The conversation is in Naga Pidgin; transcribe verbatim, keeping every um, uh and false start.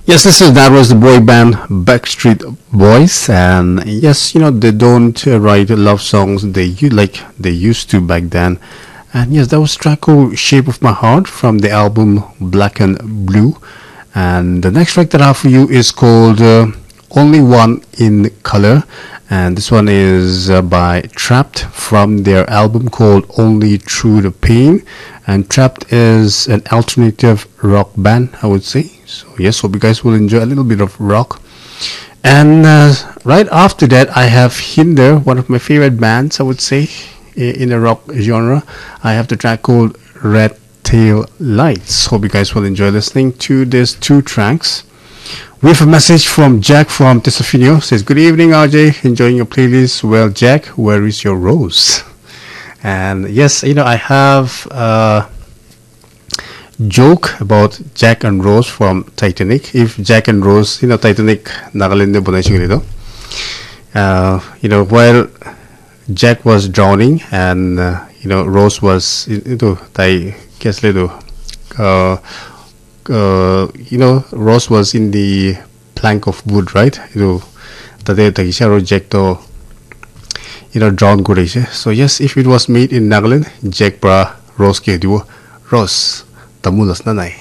Yes, this is that was the boy band Backstreet Boys, and yes, you know they don't uh, write love songs they you like they used to back then, and yes, that was track called "Shape of My Heart" from the album Black and Blue, and the next track that I have for you is called uh, "Only One in Color," and this one is uh, by Trapt from their album called "Only Through the Pain," and Trapt is an alternative rock band, I would say. So yes, hope you guys will enjoy a little bit of rock. And uh, right after that, I have Hinder, one of my favorite bands, I would say, i- in the rock genre. I have the track called Red Tail Lights. Hope you guys will enjoy listening to these two tracks. We have a message from Jack from Tesofino. Says, "Good evening, R J. Enjoying your playlist. Well, Jack, where is your rose?" And yes, you know, I have uh, joke about Jack and Rose from Titanic. If Jack and Rose, you know, Titanic Nagaland de banai shikile to. Uh, you know, while Jack was drowning and uh, you know Rose was itu tai ke asle tu uh, uh, you know Rose was in the plank of wood, right? Itu tate thakishe aro Jack to you know drown kurishe. So yes, if it was made in Nagaland, Jack pra Rose ke dibo, "Rose, tamul as na nai?"